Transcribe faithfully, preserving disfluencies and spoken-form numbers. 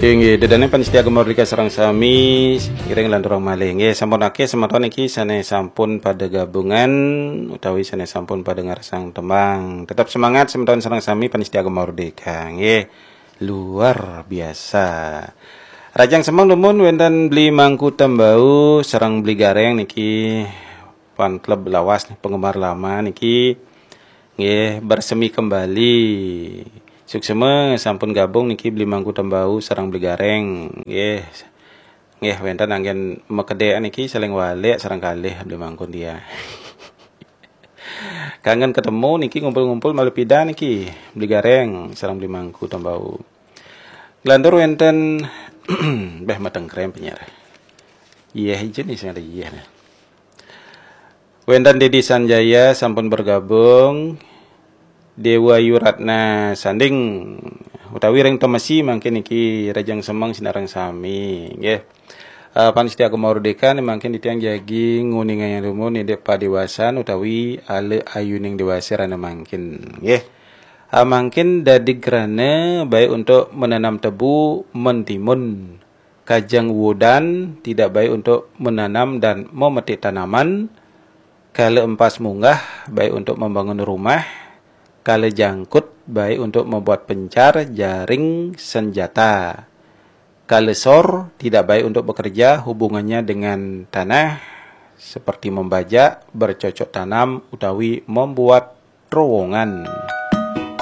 Inggih, ida dané pamiarsa Gema Merdeka sareng sami, ngiring lanturang malih. Inggih, sampun akéh semeton niki sané sampun pada gabungan utawi sané sampun pada ngarsang tembang. Tetap semangat semeton sareng sami pamiarsa Gema Merdeka. Inggih, luar biasa. Rajang semeng dumun wénten Beli Mangku Tembau sareng Beli Garéng niki fan klub lawas nih, penggemar lama niki. Nggih, bersemi kembali. Suksma sampun gabung niki Beli Mangku Tembau sareng Beli Garéng. Nggih. Nggih, wénten anggén makedék niki saling walik sareng kalih Beli Mangku dia. Kangen ketemu niki, ngumpul-ngumpul malih pidan niki Beli Garéng sareng Beli Mangku Tembau. Nglantur wénten béh, matengkrem penyiar. Iya, ijen nih sing ada iya nih. Wénten Dedi Sanjaya sampun bergabung. Dewa Yuratna Sanding utawi ring Temesi mangkin niki rajang semeng sinareng sami, nggih. Eh, pamiarsa Gema Merdeka nih mangkin titiang jagi nguningayang dumun indik padéwasan utawi ala ayuning déwasa rahina mangkin, nggih. Ah, mangkin dadi grana baik untuk menanam tebu, mentimun. Kajeng wudan tidak baik untuk menanam dan memetik tanaman. Kala empas munggah baik untuk membangun rumah. Kala jangkut baik untuk membuat pencar, jaring, senjata. Kala sor tidak baik untuk bekerja, hubungannya dengan tanah seperti membajak, bercocok tanam utawi membuat terowongan.